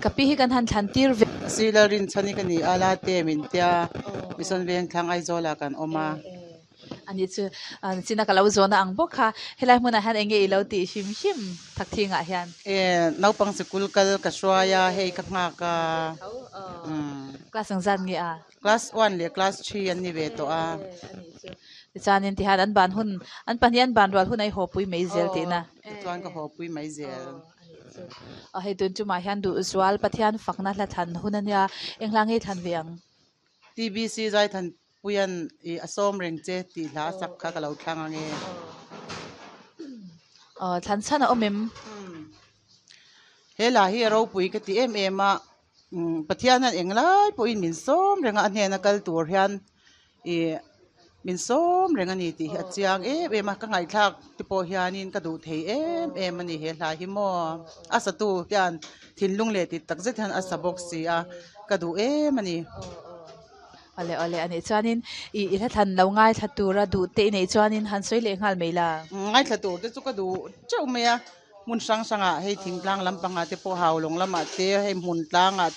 Ka pi hi kan han thlan tir ve. Sir Lalrinchhani ka ni a, Late min tia Mission Vengthlang Aizawlah kan awm a. Ani chu china ka lo zawhna ang bawk kha helai hmunah hian enge i lo tih hrim hrim Thakthingah hian? E, naupang sikul kal ka hruai a, hei ka nghak a. Class engzat nge a? Class one leh class three an ni ve tawh a. Tichuanin tihian an ban hun, an pahnih an ban rual hun a i hawpui mai zel tihna. Tichuan ka hawpui mai zel. Aw hei tun chumah hian duhzual Pathian fakna hla thlan hun a nia, eng hla nge i thlan ve ang? TBC Zaithan Puian i a sawm reng che tih hla a sak kha ka lo thlang ang e. Aw thlan chhan a awm em? He hla hi a ropui ka ti em em a, Pathian hian englai pawhin min sawm reng a, a hnena kal tur hian ih min sawm reng a ni tih hi a chiang em em a, ka ngaihthlak te pawh hianin ka duh thei em em a ni he hla hi maw a satu hian thinlung leh tih tak zet hian a sa bawk si a, ka duh em a ni. Awle awle a nih chuanin ih i hla thlan lo ngaithla tura duh te i neih chuanin han sawi leh nghal mai la. Ngaithla tur te chu ka duh teuh mai a, hmun hrang hrangah hei thingtlang lampangah te pawh Haulawng lamah te hei hmun tlangah.